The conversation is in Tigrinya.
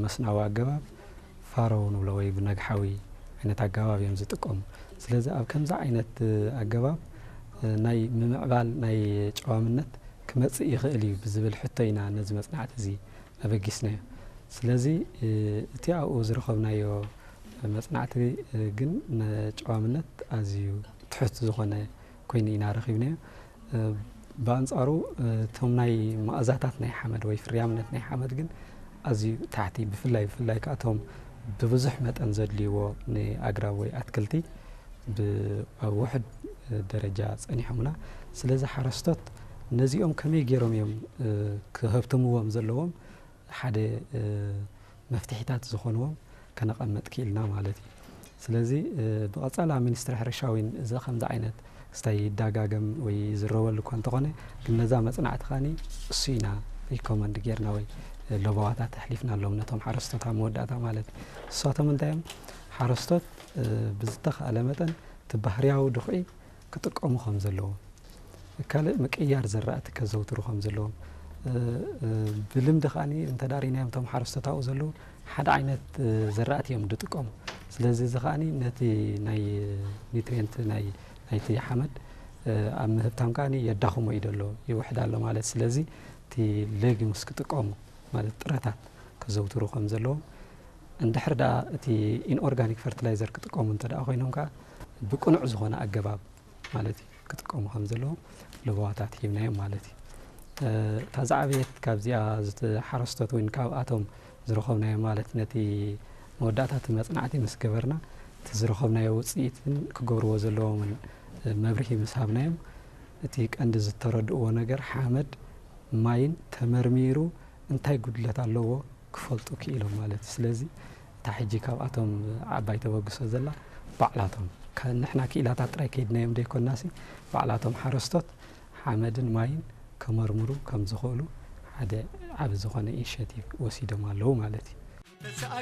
መስናዊ ኣገባብ ፋሮ ንብሎ ወይ ብነግሓዊ ዓይነት ኣገባብ እዮም ዝጥቀሙ። ስለዚ ኣብ ከምዚ ዓይነት ኣገባብ ናይ ምምዕባል ናይ ጨዋምነት ክመጽእ ይኽእል እዩ ብዝብል ሕቶ ኢና ነዚ መጽናዕቲ እዚ ኣበጊስናዮ። ስለዚ እቲ ኣብኡ ዝረኸብናዮ መጽናዕቲ ግን ንጨዋምነት ኣዝዩ ትሑት ዝኾነ ኮይኑ ኢና ረኺብናዮ። ብኣንጻሩ እቶም ናይ መኣዛታት ናይ ሓመድ ወይ ፍርያምነት ናይ ሓመድ ግን ኣዝዩ ታሕቲ፣ ብፍላይ ብፍላይ ከኣቶም ብብዙሕ መጠን ዘድልይዎ ንኣግራብ ወይ ኣትክልቲ ኣብ ውሕድ ደረጃ ጸኒሖምና። ስለዚ ሓረስቶት ነዚኦም ከመይ ገይሮም እዮም ክህብትምዎም ዘለዎም ሓደ መፍትሒታት ዝኾንዎም ከነቐምጥ ክኢልና ማለት እዩ። ስለዚ ብቐጻሊ ኣብ ሚኒስትሪ ሕርሻ እውን እዚ ከምዚ ዓይነት ክስታይ ይዳጋገም ወይ ይዝረበሉ እኳ እንተኾነ፣ ግን ነዛ መጽናዕቲ ኸኣኒ እሱ ኢና ሪኮመንድ ጌርና ወይ ለበዋታት ኣሕሊፍናሎም ነቶም ሓረስቶት ኣብ መወዳእታ ማለት እዩ። ንሳቶም እንታይ እዮም? ሓረስቶት ብዝተኻእለ መጠን እቲ ባህርያዊ ድኹዒ ክጥቀሙ ከም ዘለዎም፣ ካልእ ምቅያር ዘራእቲ ከዘውትሩ ከም ዘለዎም፣ ብልምዲ ከኣ እንተ ዳሪናዮም እቶም ሓረስቶት ኣብኡ ዘለዉ ሓደ ዓይነት ዘራእቲ እዮም ዝጥቀሙ። ስለዚ እዚ ከኣ ነቲ ናይ ኒትሪየንት ናይ ናይቲ ሓመድ ኣብ ምህብታም ከኣ የዳኽሞ እዩ ዘሎ፣ ይውሕድ ኣሎ ማለት። ስለዚ እቲ ሌጊምስ ክጥቀሙ ማለት ጥረታት ከዘውትሩ ከም ዘለዎም፣ እንድሕር ደኣ እቲ ኢንኦርጋኒክ ፈርቲላይዘር ክጥቀሙ እንተ ደኣ ኮይኖም ከኣ ብቅኑዕ ዝኾነ ኣገባብ ማለት እዩ ክጥቀሙ ከም ዘለዎም ለበዋታት ሂብናዮም ማለት እዩ። እታ ዝዓበየት ካብዚኣ ዝተ- ሓረስቶት እውን ካብኣቶም ዝረኸብናዮ ማለት ነቲ መወዳእታ እቲ መጽናዕቲ ምስ ገበርና እቲ ዝረኸብናዮ ውጽኢትን ክገብርዎ ዘለዎምን መብርሂ ምስ ሃብናዮም እቲ ቀንዲ ዝተረድእዎ ነገር ሓመድ ማይን ተመርሚሩ እንታይ ጉድለት ኣለዎ ክፈልጡ ክኢሎም ማለት እዩ። ስለዚ እታ ሕጂ ካብኣቶም ዓባይ ተበግሶ ዘላ ባዕላቶም ከ- ንሕና ክኢላታት ጥራይ ከይድናዮም ዘይኮናሲ ባዕላቶም ሓረስቶት ሓመድን ማይን ከመርምሩ ከም ዝኽእሉ ሓደ ዓቢ ዝኾነ ኢኒሼቲቭ ወሲዶም ኣለዉ ማለት እዩ።